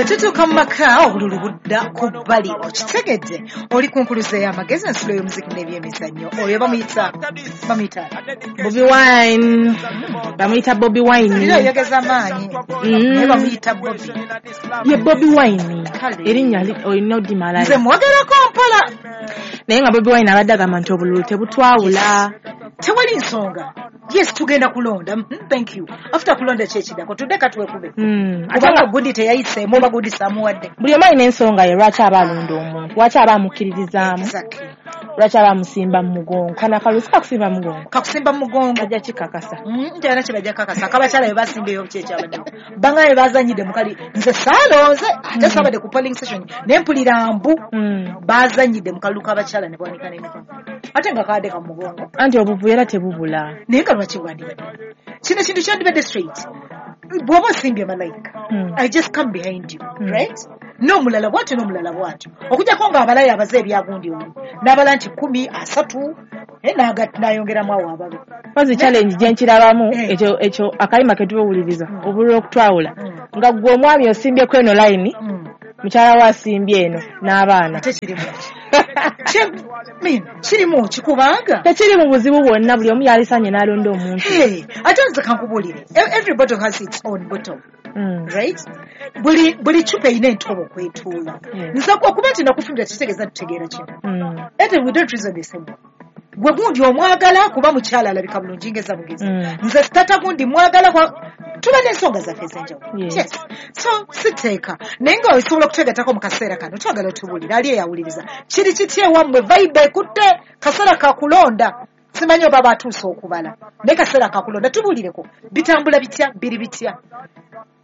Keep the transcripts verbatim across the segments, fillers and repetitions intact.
Bwe tutuuka mu maka obululu budda ku bbali, okitegedde oli ku nkuluze y'amagezi, ensulo y'omuziki n'ebyemizannyo. Oyo bamuyita bamuyita Bobi Wine, bamuyita Bobi Wine. Era oyogeza amaanyi, naye bamuyita Bobi. Ye Bobi Wine erinnya olina oddimalayo. Nze mwogerako mpola. Naye nga Bobi Wine abadde agamba nti obululu tebutwawula, tewali nsonga. Yes, tugenda kulonda. Thank you. After kulonda kyekidako tudde katwekube. Kubanga gundi teyayiseemu oba gundi saamuwadde. Buli omu alina ensonga ye lwaki aba alonda omuntu, lwaki aba amukkiririzaamu, lwaki aba amusimba mu mugongo. Kano akalusi kakusimba mu mugongo, kakusimba mu mugongo bajja kikakasa. Njagala kye bajja kakasa. Akabakyala be basimbeyo ki ekyabaddewo, banga be bazannyidde mu kali. Nze saalonze ate saabadde ku polling station ne mpulira mbu bazannyidde mu kalulu k'abakyala ne bawanika n'emikono ate nga kaadde ka mu mugongo. Anti obuvuyo era tebubula. Naye nga lwaki bwandibadde kino kintu kyandibadde straight. Bw'oba osimbye malayika, I just come behind you, right? N'omulala bw'atyo n'omulala bw'atyo, okuggyako ng'abalayo abaze ebyagundi oli n'abala nti kkumi asatu n'ayongeramu awo ababe. Mpazi challenge gye nkirabamu ekyo ekyo akayima ke tubawuliriza obululu okutwawula, nga ggwe omwami osimbyeko eno layini, mukyala we asimbye eno n'abaana. Ate kirimu ki? Kirimu ki? Kubanga tekiri mu buzibu bwonna, buli omu yalisanye n'alonda omuntu. Ate nze kankubuulire, every bottle has its own bottle. Mm. Right? Buli buli chupa erina entobo kwetuula. Nze okuba nti nakufumbira kitegeeza tutegeera kino. Ate we don't reason the same way. Gwe gundi omwagala kuba mukyala alabika bulungi ngeza mugezi. Nze tata gundi mwagala kwa tuba n'ensonga zaffe ez'enjawulo. Yes. So siteeka naye nga osobola okutegatako mu kaseera kano, twagala otubuulire ali eyawuliriza kiri kiti ewammwe vibe ekutte kaseera kakulonda. Simanyi oba batuuse okubala naye kaseera kakulonda, tubuulireko bitambula bitya, biri bitya,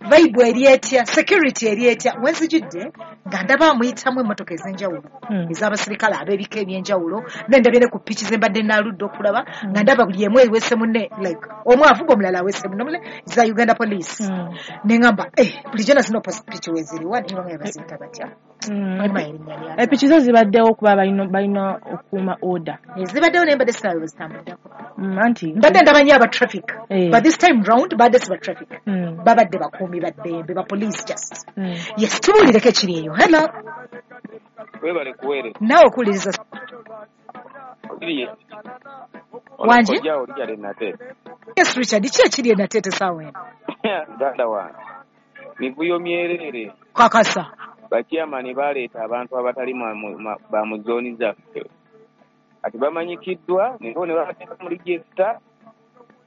vibe eri etya, security eri etya. Wenzijidde nga ndaba amuyitamu emmotoka ez'enjawulo ez'abasirikale ab'ebika eby'enjawulo, nendabye ne ku piki ze mbadde naaludde okulaba nga ndaba buli emu eweese munne, like omu avuga omulala aweese munne, za Uganda Police. Ne ŋŋamba eh bulijjo na zino piki weeziriwa, naye bamwe baziyita batya? Epiki zo zibaddewo okuba balina okukuuma order. Zibaddewo naye mbadde siraba bwe zitambuddeko. Anti mbadde ndaba nnyo aba traffic, but this time round badde si ba traffic, babadde bakuumi ba ddembe, ba police just. Yes, tubuulireko ekiri eyo. Hello. Webale kuweereza. Naawe okuwuliriza. Wangi? Yes, Richard, ki ekiri e Nateete essaawa eno? Muganda wange, mivuyo myereere. Kakasa. Bachairman baleeta abantu abatali ba mu zooni zaffe. Kati bamanyikiddwa ne babateeka mu register.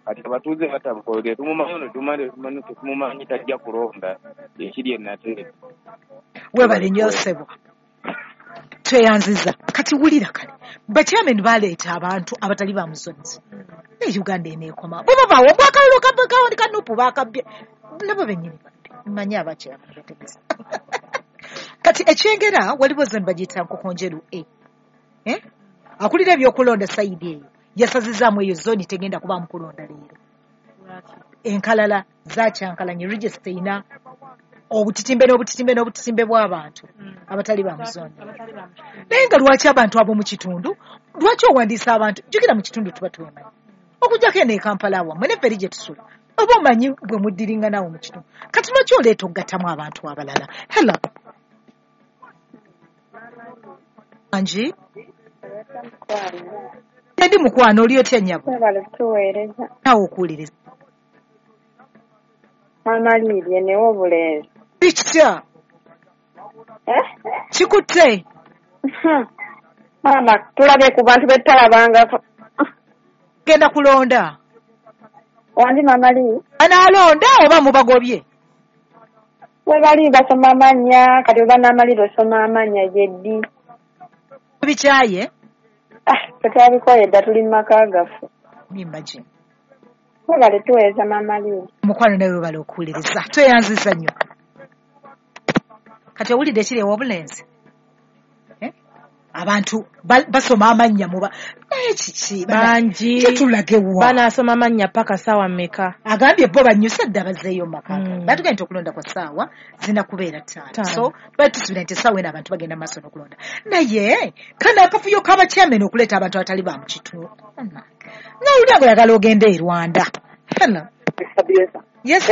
Kati abatuuze batabuka, tetumumanyi ono tetumanyi tetumumanyi tajja kulonda ekiri e Nateete. Webale nnyo ssebo. Tweyanziza. Kati wulira kale, bachairman baleeta abantu abatali ba mu zooni. Ne Uganda eneekoma. Bo bavaawo bwakalulu ka Nupu baakabbye. Nabo bennyini babbi. Mmanyi abachairman betegese. Kati ekyengera waliwo zone bagiyita Nkokonjeru A. Eh? Akulira ebyokulonda sayidi eyo yasazizaamu eyo zone tegenda kubaamu kulonda leero. Enkalala zakyankalanye, register erina obutitimbe n'obutitimbe n'obutitimbe bw'abantu abatali ba mu zone. Naye nga lwaki abantu abo mu kitundu, lwaki owandiisa abantu? Jjukira mu kitundu tuba twemanyi. Okuggyako eno e Kampala wammwe ne ffe eri gye tusula, oba omanyi bwe muddiringa naawe mu kitundu. Kati lwaki oleeta okugattamu abantu abalala? Hello. Angi? Ndi mukwano, oli otya nnyabo? Naawe okuwuliriza. Maama Lidia ne w'obulenzi. Kitya? Kikutte? Maama tulabye ku bantu betutalabangako. Genda kulonda. Wangi Maama Lii? Anaalonda oba mubagobye? We bali basoma amannya, kati oba n'amalira osoma amannya gyeddi. Bikyaye? Ah, tetwabikoye dda, tuli mu maka gaffe. Imagine. Webale tuweereza Maama Lii. Mukwano nawe webale okuwuliriza. Tweyanziza nnyo. Kati owulidde ekiri ew'obulenzi? Abantu basoma amannya muba naye kiki bangi tetulagewa banaasoma amannya paka ssaawa mmeka? Agambye bo bannyuse dda bazzeeyo mu maka gaabwe. Batugambye nti okulonda kwa ssaawa zirina kubeera ttaano, so twali tusuubira nti essaawa eno abantu bagenda maaso n'okulonda. Naye kano akavuyo k'abachairman okuleeta abantu abatali ba mu kitundu, n'owulira ng'oyagala ogende e Rwanda. Hello. Yes.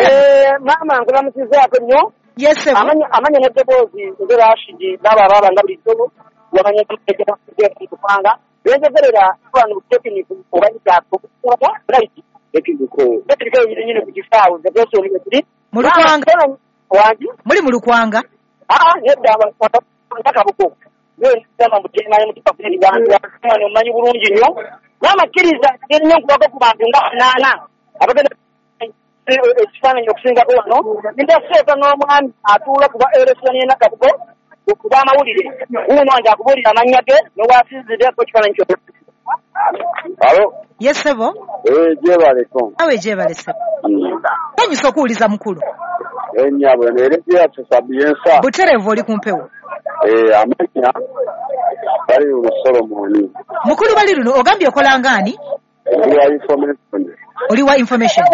Maama nkulamusizaako nnyo. Yes sir. Amanya amanya n'eddoboozi nze Rashidi baba baba nga bulijjo wamanya kupanga benjogerera wano tekiniki obayita okukola right tekiniko tekiniko yenyini ku kisaawe nze byosoli kiri mu Lukwanga wangi muli mu Lukwanga ah nedda Nakabugo nzama mutema mutupa kuli bantu omanyi bulungi nnyo n'amakkiriza nnyo nkubako ku bantu nga banaana abagenda ekifaananyi okusingako wano ndaseeka n'omwami atuula kuba eresoni Nakabugo okuba amawulire wuuno wange akubuulira amannya ge n'owasinziddeko ekifaananyi kyonna. Alo. Yes sebo. Eh jebaleko. Awe jebale sebo. Nsanyusa okuwuliza mukulu. Eh nnyabo neerejja Sapientia. Butereevu oli ku mpewo. Eh amannya bali luno Solomoni. Mukulu bali luno ogambye okola ngani? Oli wa information. Oli wa information.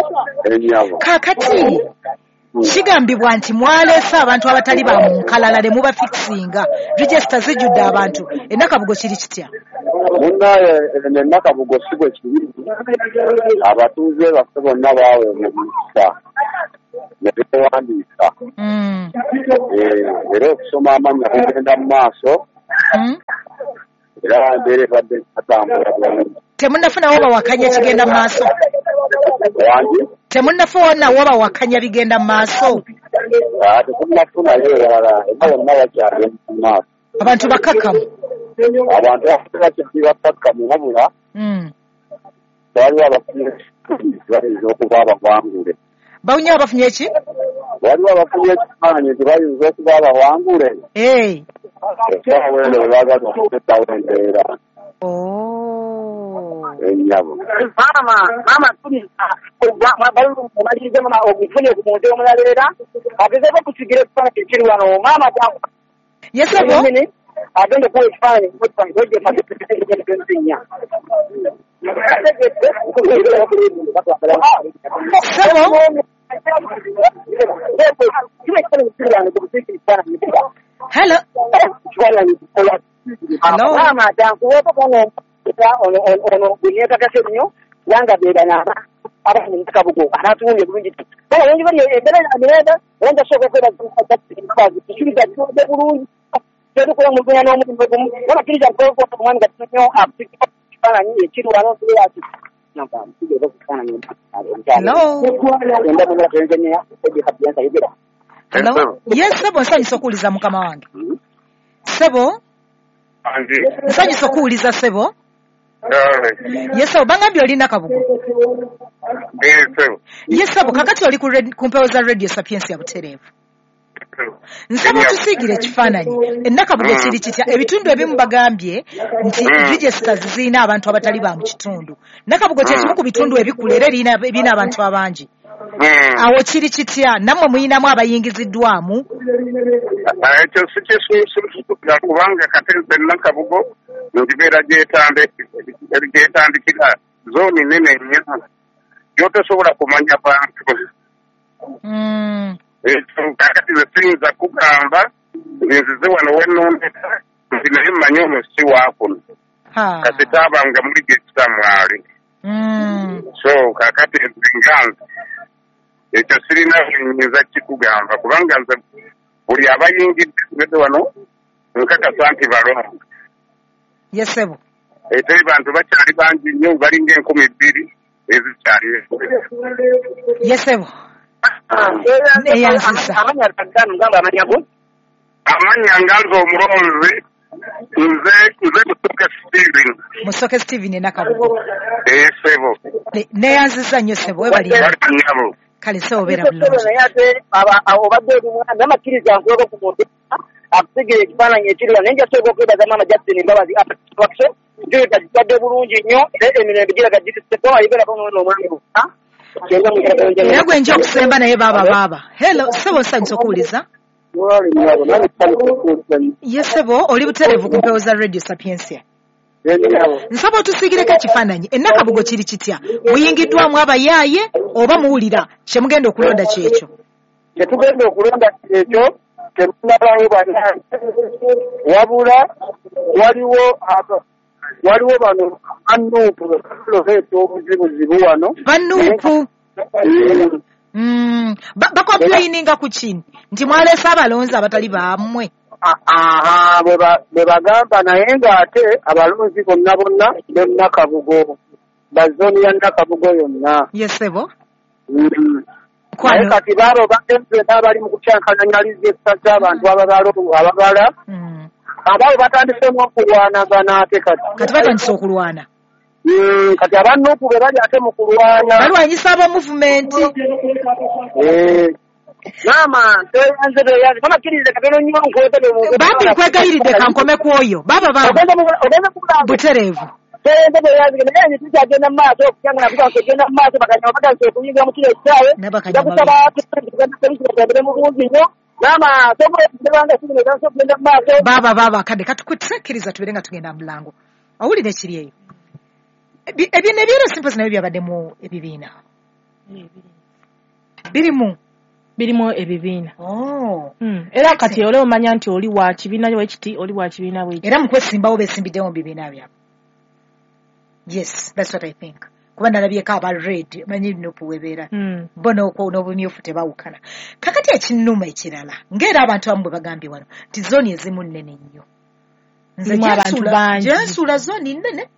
Eh nnyabo. Kaakati kigambibwa nti mwaleese abantu abatali ba mu nkalala ne mubafikisinga register zijjudde abantu e Nakabugo kiri kitya? Munnaye e Nakabugo si bwe kiri, abatuuze baffe bonna baaweebwa omukisa ne beewandiisa. Era okusoma amannya kugenda mu maaso era embeera ebadde atambula bulungi. Temunnafunawo bawakanya kigenda mu maaso? Wangi? Temunnafunawo bawakanya bigenda mu maaso? Tetunnafunayo ewalala, era bonna bakyagenda mu maaso. Abantu bakkakkamu? Abantu bakyali bakkakkamu wabula waliwo abafunye bayinza okuba abawangule. Bawunya abafunye ki? Waliwo abafunye ekifaananyi nti bayinza okuba abawangule. Essaawa eno bwe baagala okuteekawo embeera. Ennyabo. Maama, maama omalirize mama ogufunye ku muntu omulala era agezeeko okusigira ekifaananyi ekiri wano maama. Yes sebo. Agenda okuwa ekifaananyi. Sebo. Hello. Hello. Maama ono ono gweneekakase nnyo kubanga beebana abali mu Nakabugo anaatuwulire bulungi. Bala wengi bali embeera emirembe era nja kusooka okwebaza kisuubiza kiwedde bulungi tetukola omuluganya n'omulimu gumu n'abakkiriza nkola omwami gatono nnyo akusigira ekifaananyi ekiri wano ati Hello. Yes sebo nsanyusa okuwuliza mukama wange. Sebo nsanyusa okuwuliza sebo. Yes sebo bangambye oli Nakabugo. Yes sebo kakati oli ku mpewo za Radio Sapientia butereevu. Nsaba otusiigire ekifaananyi e Nakabugo kiri kitya? Ebitundu ebimu bagambye nti registers zirina abantu abatali ba mu kitundu. Nakabugo kye kimu ku bitundu ebikulu era ebirina abantu abangi. Awo kiri kitya? Nammwe muyinamu abayingiziddwamu? Ekyo si kisuusuukira kubanga kati nze Nakabugo ngibeera gyetandikira zooni nnene nnyo gy'otosobola kumanya bantu. Ekyo kakati nze siyinza kugamba nzize wano wennondeka nti naye mmanyi ono si waakuno kati taabanga muli gesita mwali. So kakati nze nga nze ekyo sirina nyinza kikugamba kubanga nze buli abayingidde wano nkakasa nti balongo. Yes sebo. Ate bantu bakyali bangi nnyo balinga enkumi bbiri ezikyali. Yes sebo. Amannya gamba amannya go? Amannya nga nze omulonzi nze nze Musoke Steven. Musoke Steven e Nakabugo. Eh sebo. Neyanziza nnyo sebo webali. Kale sebo beera bulungi. Naye ate obadde oli mwana n'amakkiriza nkuweko ku muntu akusigira ekifaananyi ekiri wano naye nja kusooka okwebaza maama Justin Mbabazi Action njulita gitadde bulungi nnyo era emirembe giraga giriseko ayiberako n'ono omwami bukka. Era gwe nja okusemba naye baaba baaba. Hello sebo nsanyusa okuwuliza. Yes sebo oli butereevu ku mpewo za Radio Sapientia. Nsaba otusiigireko ekifaananyi e Nakabugo kiri kitya? Muyingiddwamu abayaaye oba muwulira kye mugenda okulonda kyekyo? Kye tugenda okulonda kyekyo temunabawo bannange wabula waliwo waliwo bano banuupu baleeta obuzibuzibu wano. Banuupu Mm. Bakomplaininga ku kini nti mwaleese abalonzi abatali bammwe. Aha, bwe bagamba, naye ng'ate abalonzi bonna bonna be Nakabugo, ba zooni ya Nakabugo yonna. Yesebo. Naye kati baabo bagenze n'abali mu kukyankalanya liziekisa z'abantu ababala, abaabo batandisemu okulwanagana ate kati. Kati batandise okulwana. Kati abanuupu be bali ate mu kulwana. Balwanyisa aba movement. Maama, nze beyanze mama kkiriza katono nnyo nkwetebe. Bambi nkwegayiridde kankome ku oyo. Baba baba. Butereevu. Nze beyanze naye nze tukyagenda mu maaso okukyangana kugenda mu maaso bakanyama batandise okuyingira mu kiro ekisaawe. Njakusaba tugende mu bungi nnyo. Maama, sobola okugenda kino etandise okugenda mu maaso. Baba baba kadde katukukkiriza tubeere nga tugenda mu mulango. Owulira ekiri eyo. Ebyo ebyero simpozi nabyo byabadde mu ebibiina. Birimu. Birimu ebibiina. Oh. Mm. Era kati ole omanya nti oli wa kibiina wekiti, oli wa kibiina wekiti. Era mu kwesimbawo besimbiddewo mu bibiina byabwe. Yes, that's what I think. Kuba nalabyeko aba red, manyi nupu webeera. Mm. Bo n'obumyufu tebawukana. Kakati ekinnuma ekirala, ng'era abantu abamu bwe bagambye wano, nti zooni ezimu nnene nnyo. Nze gye nsuula zooni nnene.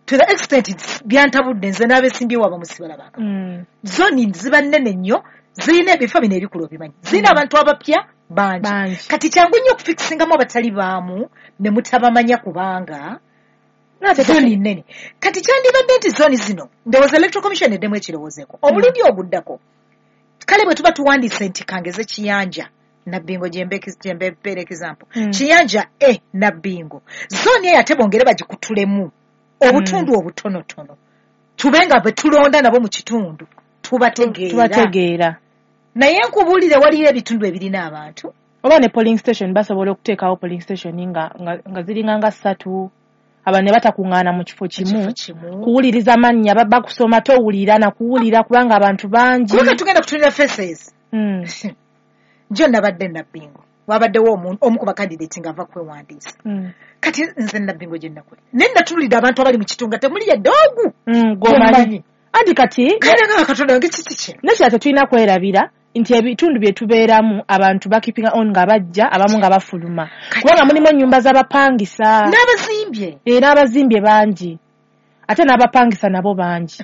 To the extent byantabudde nze n'abesimbyewo abamu sibalabanga. Mm. Zooni ziba nnene nnyo, zirina ebifo bino ebikulu obimanyi. Zirina abantu abapya bangi. Kati kyangu nnyo okufikisingamu abatali baamu ne mutabamanya kubanga zooni nnene. Kati kyandibadde nti zooni zino, ndowooza Electoral Commission eddemu ekirowoozeeko. Omulundi oguddako, kale bwe tuba tuwandiise nti kangeze Kiyanja, Nabbingo gyembeera example. Mm. Kiyanja A Nabbingo. Zooni eyo ate bongere bagikutulemu obutundu mm. obutonotono. Tube nga bwe tulonda nabo mu kitundu tubategeera. Tubategeera. Naye nkubuulire waliyo ebitundu ebirina abantu. Oba ne polling station basobola okuteekawo polling station nga, nga, nga ziringa nga ssatu. Abantu ne batakuŋŋaana mu kifo kimu kuwuliriza mannya, bakusoma towulira na kuwulira kubanga abantu bangi. Kubanga tugenda kutunula faces. Mm. Njo nabadde Nabbingo. Wabaddewo omu ku bakandidate ng'ava kwewandiisa. Mm. Kati nze Nabbingo gye nakola. Naye natuulidde abantu abali mu kitundu nga temuli yadde ogu. Mm, gw'omanyi. Anti kati kale nga Katonda wange kiki kino? Nekirala tetulina kwerabira nti ebitundu bye tubeeramu abantu bakipinga on nga bajja, abamu nga bafuluma. Kubanga mulimu ennyumba z'abapangisa. N'abazimbye. Eh, n'abazimbye bangi. Ate n'abapangisa nabo bangi.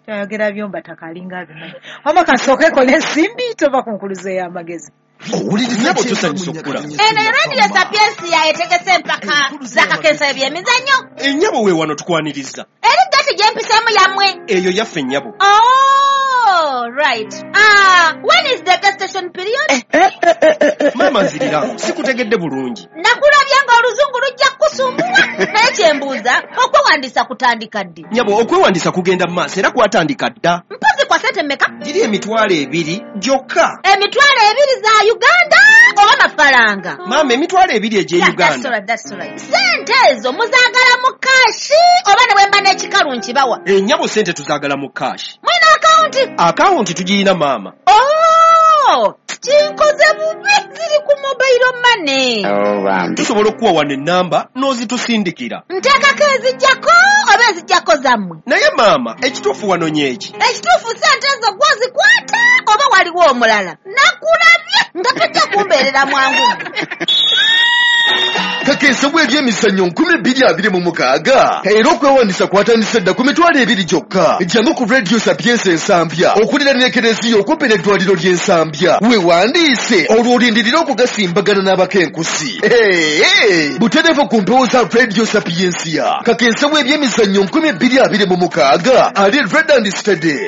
Tayogera byomba takalinga abimanyi. Wamma kasooke kole ensimbi tova ku nkuluze y'amagezi. Owuliriza tusanyusa okukula. Eno Radio Sapiensia etegese empaka z'akakensa eby'emizannyo. Ennyabo we wano tukwaniriza. Eri gati gye mpiseemu yammwe. Eyo yaffe ennyabo. Oh, right. Ah, when is the gestation period? Eh, eh, eh, eh, eh. Maama nzirira, sikutegedde bulungi. Nakulabye ng'oluzungu lujja kukusumbuwa. Naye kye mbuuza, okwewandiisa kutandika ddi? Nnyabo, okwewandiisa kugenda mu maaso era kwatandika dda. Mpozi kwa ssente mmeka? Giri emitwalo ebiri gyokka. Emitwalo ebiri za Uganda oba mafaranga? Maama, emitwalo ebiri egy'e Uganda. That's all right, that's all right. Ssente ezo muzaagala mu kaashi oba ne bwe mba n'ekikalu nkibawa? Ennyabo ssente tuzaagala mu kaashi. Mwina akawunti? Akawunti tugirina maama. Oh, kinkoze bubi, ziri ku mobile money. Oh, bambi. Tusobola okuwa wano ennamba n'ozitusindikira. Nteekako ezijjako oba ezijjako zammwe? Naye maama, ekituufu wanonye eki? Ekituufu ssente ezo gw'ozikwata oba waliwo omulala? Nakulabye nga tojja kumbeerera mwangu. Kakensa bw'ebyemizannyo nkumi bbiri abiri mu mukaaga era okwewandiisa kwatandise dda ku mitwalo ebiri gyokka. Jangu ku Radio Sapiensia Ensambya okuliraana ekereziya okumpi n'eddwaliro ly'Ensambya weewandiise olwo olindirire okugasimbagana n'abakenkusi. Butereevu ku mpewo za Radio Sapiensia. Kakensa bw'ebyemizannyo nkumi bbiri abiri mu mukaaga ali red and steady.